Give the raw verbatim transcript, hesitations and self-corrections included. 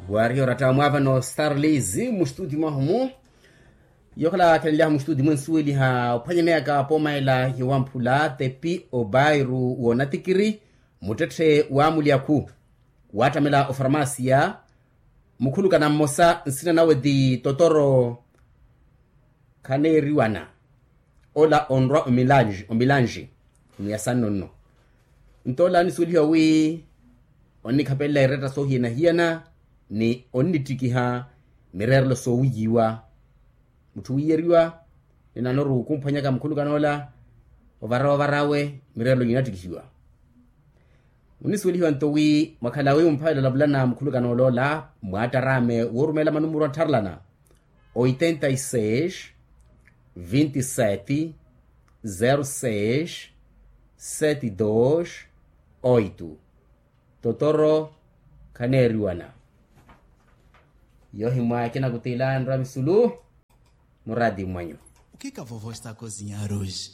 Wariha oratta mwaavano starlis mustudi mwahumu. Yokhala khenly'ahu mustudi mwensuweliha ophwanyaneyaka pooma ela yowamphula tepi obairu woonatikiri muttetthe w'amulyakhu waattamela ofarmasiya. Mukhulukana mmosa nsina nawe ti totoro khaneeriwana ola onrwa omilanji omilanji. Ni ya sanno nno nto ola anisuwelihiwa wi onnikhapelela iretta soohiyana-hiyana ni onnittikiha mireerelo soowiyiwa. Mutthu wiiyeriwa ni nanoru khumphwanyaka mukhulukana ola ovara ovara awe mireerelo yinattikihiwa. Munisuwelihiwa nto wi mwakhala wi mumphavela olavulana mukhulukana oloola mwaattaraame woorumeela manumuru attharelana oitenta y seis vinte y sete zero seis sete dos oito. Totoro khaneeriwana. Yohimwa ekina kutiila nrwa misulu muraati mwanyu. O que que a vovó está a cozinhar hoje?